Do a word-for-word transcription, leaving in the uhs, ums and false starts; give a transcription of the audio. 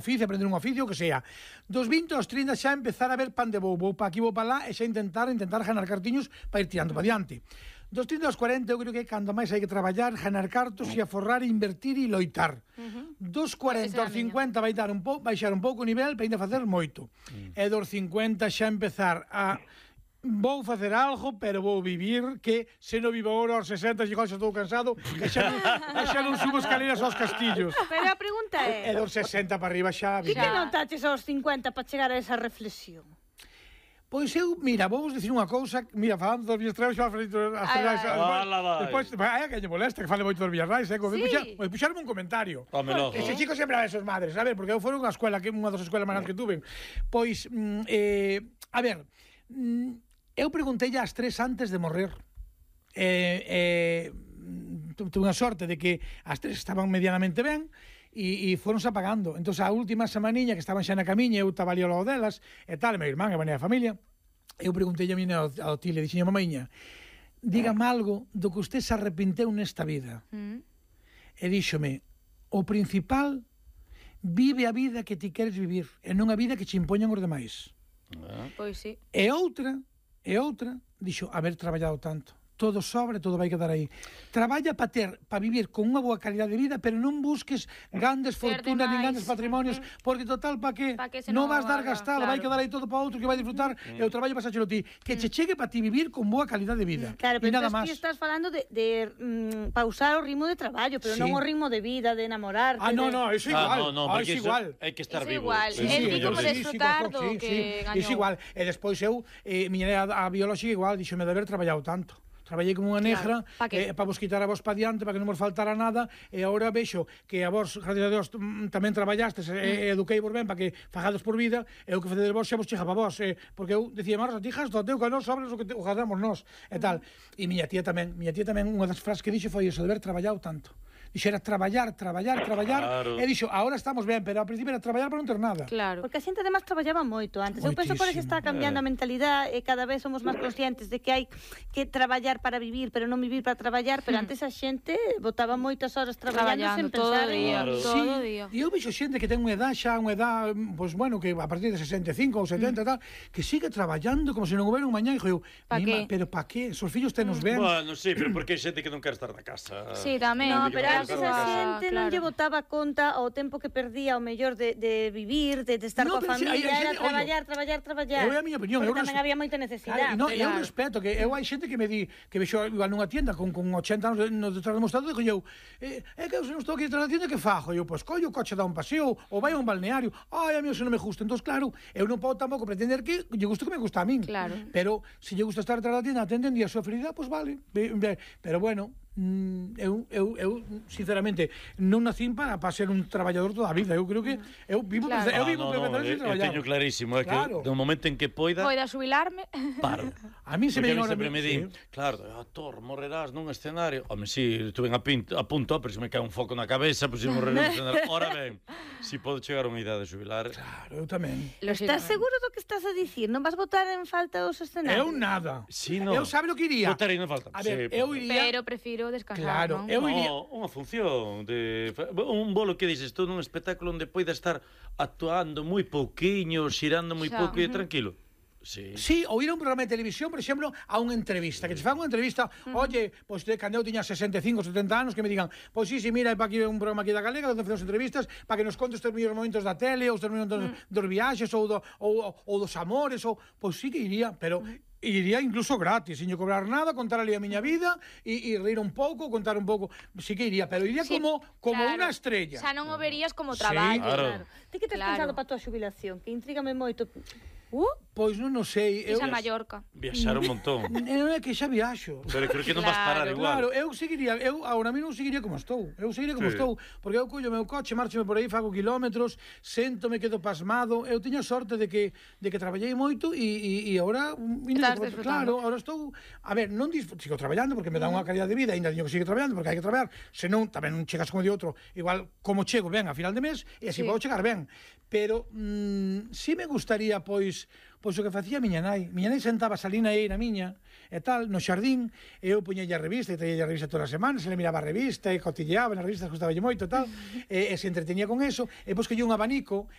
oficio, aprender un oficio, que sea. Dos vinte aos trinta xa empezar a ver pan de vou, vou pa aquí, vou pa lá, e xa intentar intentar ganar cartiños para ir tirando para diante. Dos trinta aos cuarenta eu creo que cando máis hai que traballar, ganar cartos e aforrar, invertir e loitar. Uh-huh. Dos cuarenta aos cincuenta vai dar un pouco, baixar un pouco o nivel para ainda facer moito. Uh-huh. E dos cincuenta xa empezar a vou facer algo, pero vou vivir, que se non vivo agora aos sesenta, xa estou cansado, e xa non, xa non subo escaleras aos castillos. Pero a pregunta é... E dos sesenta para arriba xa... Que te notaches aos cincuenta para chegar a esa reflexión? Pois eu, mira, vou vos dicir unha cousa, mira, falando dos vías traballos, as traballos, despois, vai, que lle molesta, que fale moito dos vías rais, eh, pois puxarme un comentario. Ese chico sempre a ver sus madres, a ver, porque eu fui unha escuela, que unha das escuelas máis que tuve, pois, eh, a ver, eu preguntei ás tres antes de morrer. Eh, eh, tuve unha sorte de que as tres estaban medianamente ben e, e foronse apagando. Entón, a última semaniña que estaban xa na camiña, eu estaba ali ao lado delas, e tal, meu irmán, e venía a familia, eu preguntei a miña ao tile, dixen, mamaiña, dígame algo do que usted se arrepinteu nesta vida. Mm. E díxome, o principal, vive a vida que ti queres vivir, e non a vida que che impoñan os demais. Ah. Pois sí. E outra, e outra, dixo, haber traballado tanto. Todo sobra, todo vai quedar aí. Traballa para ter, para vivir con unha boa calidad de vida, pero non busques grandes fortunas nin grandes patrimonios, porque total, para que? Non vas dar gastado, vai quedar aí todo para outro que vai disfrutar, e o traballo pasáchelo ti. Que che chegue para ti vivir con boa calidad de vida. Claro, pero ti estás falando de pausar o ritmo de traballo, pero non o ritmo de vida, de enamorarte. Ah, non, non, é igual. Ah, porque hai que estar vivo. É igual, é como desfrutar do que gañou. É igual, e despois eu, miña a biolóxica igual, dixo-me de haber traballado tanto. Traballei como unha negra, claro, para eh, pa vos quitar a vos pa diante, para que non vos faltara nada, e agora vexo que a vos, gracias a Dios, tamén traballastes e mm. eduquei vos ben para que fagades por vida, e o que facedes vos xa vos chega para vos, eh, porque eu dicía, Marros, ti jas do teu, que non sobres o que te, o gastamos nós, e tal. E miña tía tamén, miña tía tamén, unha das frases que dixo foi iso, de haber traballado tanto. Dixo, era traballar, traballar, traballar, claro. E dixo, agora estamos ben, pero ao principio era traballar para non ter nada. Claro. Porque a xente además traballaba moito antes. Moitísimo. Eu penso por que está cambiando eh. a mentalidade e cada vez somos máis conscientes de que hai que traballar para vivir, pero non vivir para traballar, pero antes a xente botaba moitas horas traballando sen pensar todo día, en... todo sí. día. E eu vexo xente que ten unha edad xa, unha edad, pois pues, bueno, que a partir de sesenta e cinco ou setenta mm. tal, que sigue traballando como se non houbera un mañá, e eu, pero pa que? Os fillos tenos ben. Bueno, sí, pero porque hai xente que non quer estar na casa. Sí, tamén. No, pero antes a xente non lle botaba conta ao tempo que perdía o mellor de, de vivir, de, de estar no, coa familia, si, era traballar, traballar, traballar. Eu é a miña opinión. Porque tamén había moita necesidade. No, eu respeto, que eu hai xente que me di, que vexo igual nunha tienda con, con ochenta anos no detrás do mostrador, e eu, é eh, que eu se non estou aquí detrás da tienda, que fajo? Eu, pois, collo o coche, dá un paseo, ou vai a un balneario. Ai, a mí eso non me gusta. Entón, claro, eu non podo tampouco pretender que lle guste que me gusta a min. Claro. Pero, se lle gusta estar detrás da tienda, atenden e a súa felicidade, pois vale. Pero, bueno, eu, eu, eu sinceramente non nacín para, para ser un traballador toda a vida. Eu creo que eu vivo claro. eu vivo ah, no, no, eu, eu teño clarísimo, é claro. que no momento en que poida poida xubilarme, paro. A mí se me a sempre me di, sí. claro, actor, morrerás nun escenario. Home, si, estuve a, pinto, a punto, pero se me cae un foco na cabeza, pois pues, se morrer nun escenario. Ora ben, si podo chegar a unha idade de xubilar. Claro, eu tamén. Estás seguro do que estás a dicir? Non vas botar en falta os escenarios? Eu nada. Sí, no. Eu sabe o que iría. Botar aí non falta. A ver, sí, eu iría. Pero prefiro descansar, claro, non? Eu iría... No, unha función de un bolo que dices, todo un espectáculo onde poida estar actuando moi pouquiño, xirando moi pouco e tranquilo. Sí. Sí, ou ir a un programa de televisión, por exemplo, a unha entrevista, que se fan unha entrevista, uh -huh. oye, pois pues, cando eu tiña sesenta e cinco, setenta anos, que me digan, pois pues, sí, sí, mira, para aquí un programa aquí da Galega, onde facemos entrevistas, para que nos contes os mellores momentos da tele, os momentos uh -huh. dos viaxes, ou, do, ou, ou dos amores, ou, pois pues, sí que iría, pero... Uh -huh. Iría incluso gratis, sin yo cobrar nada, contar ali a miña vida e, e reír un pouco, contar un pouco, sí que iría, pero iría sí, como como claro. Unha estrella. Xa non o verías como traballo. Sí, claro. claro. Ti que tes claro. pensado para a tua xubilación? Que intrígame moito. Uh? Pois non o sei. Esa eu... Mallorca. Viaxar un montón. Non é que xa viaxo. Pero creo que non claro. vas parar igual. Claro, eu seguiría, eu agora mesmo seguiría como estou. Eu seguiría como sí. estou, porque eu collo o meu coche, marchome por aí, fago kilómetros, séntome, quedo pasmado. Eu tiña sorte de que de que traballei moito e e e agora claro, agora estou, a ver, non sigo traballando porque me dá unha calidad de vida, ainda teño que seguir traballando porque hai que traballar, senón tamén non chegas como de outro, igual como chego ben a final de mes e así sí. podo chegar ben. Pero mm, si me gustaría pois Pois o que facía a miña nai. Miña nai sentaba a salina aí na miña, e tal, no xardín, e eu puñella a revista, e traía a revista todas as semanas, e le miraba a revista, e cotilleaba nas revistas, gustaballe moito, tal, e, e se entretenía con eso, e pois collía un abanico,